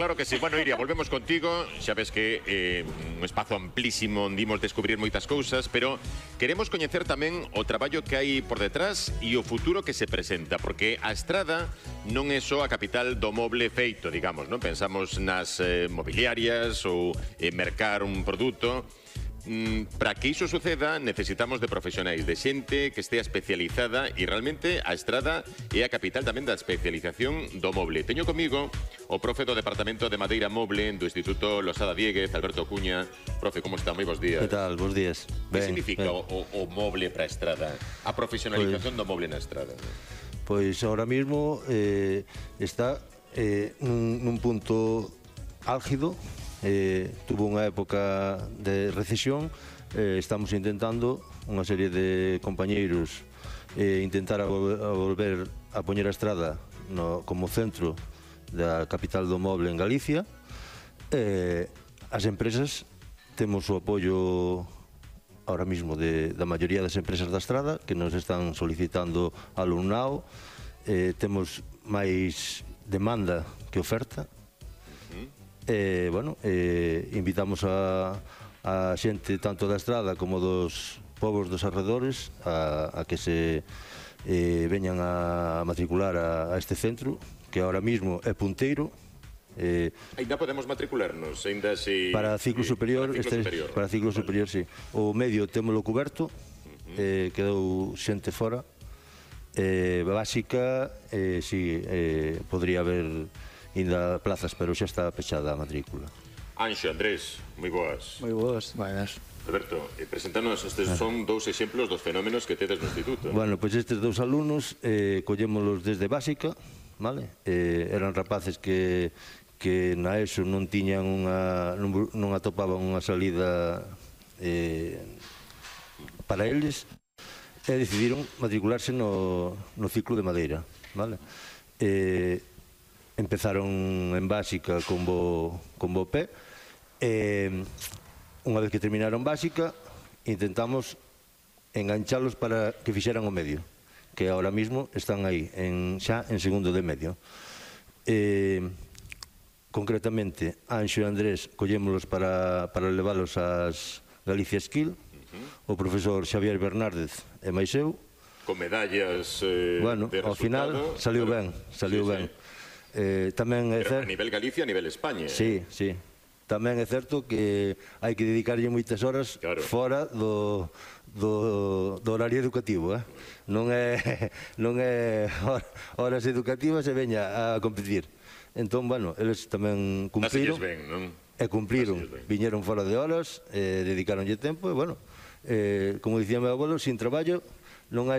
Claro que sí. Bueno, Iria, volvemos contigo. Xa ves que un espazo amplísimo onde imos descubrir moitas cousas, pero queremos coñecer tamén o traballo que hai por detrás e o futuro que se presenta, porque a Estrada non é só a capital do moble feito, digamos, non? Pensamos nas mobiliarias ou mercar un produto. Para que iso suceda necesitamos de profesionais, de xente que estea especializada, e realmente a Estrada é a capital tamén da especialización do moble. Teño comigo o profe do Departamento de Madeira Moble do Instituto Losada Dieguez, Alberto Cuña. Profe, como está? Moi bons días. Que tal? Bons días. Que significa o moble para a Estrada? A profesionalización do moble na Estrada? Pois ahora mismo está nun punto álgido. Tuvo unha época de recesión. Estamos intentando, unha serie de compañeiros, intentar a volver a poñer a Estrada como centro da capital do moble en Galicia. As empresas temos o apoio ahora mismo da maioría das empresas da Estrada que nos están solicitando alumnado. Temos máis demanda que oferta. Invitamos a xente tanto da Estrada como dos povos dos arredores a que se veñan a matricular a este centro, que ahora mismo é punteiro. Ainda podemos matricularnos? Ainda si... Para ciclo superior, para ciclo superior, sí. O medio témolo cuberto, quedou xente fora. Básica, sí, podría haber ainda plazas, pero xa está pechada a matrícula. Anxo, Andrés, moi boas. Moi boas. Buenas. Alberto, preséntanos, estes son dous exemplos dos fenómenos que tedes no instituto. Bueno, pois estes dous alumnos collémolos desde básica, vale? Eran rapaces que na ESO non tiñan non atopaban unha salida para eles e decidiron matricularse no ciclo de Madeira, vale? Empezaron en básica con bo pé. Unha vez que terminaron básica, intentamos enganchalos para que fixeran o medio, que ahora mismo están aí, xa en segundo de medio. Concretamente, Anxo e Andrés collémolos para leválos ás Galicia Skill. O profesor Xavier Bernárdez e máis eu. Con medallas bueno, de ao final saliu ben, saliu ben. Tamén é certo, a nivel Galicia, a nivel España. Sí, sí. Tamén é certo que hai que dedicarlle moitas horas fora do horario educativo. Non é horas educativas e veña a competir. Entón, bueno, eles tamén cumpriron. E cumpriron. Viñeron fora de horas, dedicaronlle tempo e, bueno, como dicía meu abuelo, sin traballo non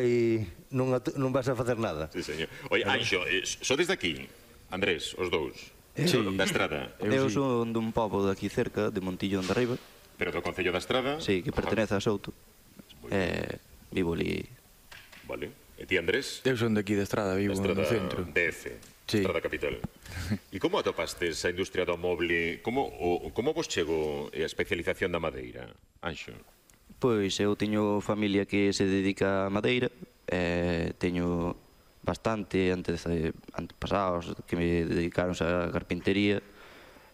vas a facer nada. Sí, señor. Oye, Anxo, sodes de aquí? Andrés, os dous? Da Estrada? Eu son dun pobo de aquí cerca, de Montillón de Arriba. Pero do Concello da Estrada? Sí, que pertenece a Souto. Vivo ali. Vale. E ti, Andrés? Eu son de aquí de Estrada, vivo no centro. DF, Estrada Capital. E como atopastes a industria do moble? Como vos chegou a especialización da madeira, Anxo? Pois eu teño familia que se dedica a madeira. Teño bastante antepasados que me dedicaronse a carpintería.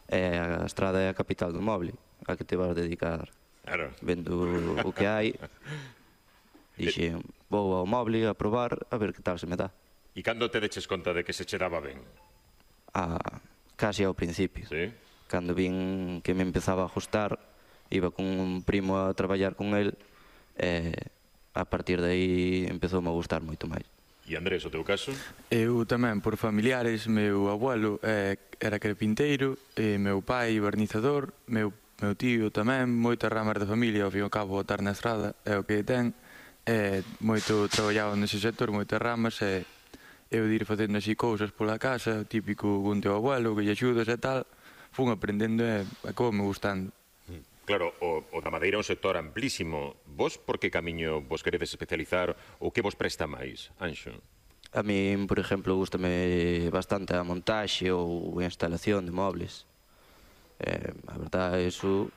A Estrada é a capital do moble, a que te vas dedicar. Claro. Vendo o que hai, dixen, vou ao moble a probar a ver que tal se me dá. E cando te deches conta de que se che daba ben? Casi ao principio. Sí? Cando vin que me empezaba a ajustar, iba con un primo a traballar con el, a partir de aí empezoume a gustar moito máis. E Andrés, o teu caso? Eu tamén, por familiares, meu abuelo era carpinteiro, meu pai barnizador, meu tío tamén, moitas ramas da familia, ao fin e ao cabo, botar na Estrada é o que ten. Moito traballado nese sector, moitas ramas, e eu de ir facendo así cousas pola casa, típico con teu abuelo, que lle axudas e tal, fun aprendendo e acaboume gustando. Claro, o da madeira é un sector amplísimo. Vos por que camiño vos queredes especializar ou que vos presta máis, Anxo? A min, por exemplo, gustame bastante a montaxe ou a instalación de mobles. A verdade, eso...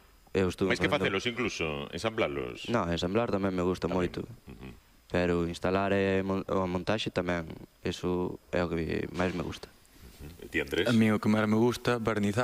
Mais que facelos incluso, ensamblalos? Non, ensamblar tamén me gusta moito. Pero instalar e a montaxe tamén, eso é o que máis me gusta. E ti, Andrés? A mí o que máis me gusta, barnizar.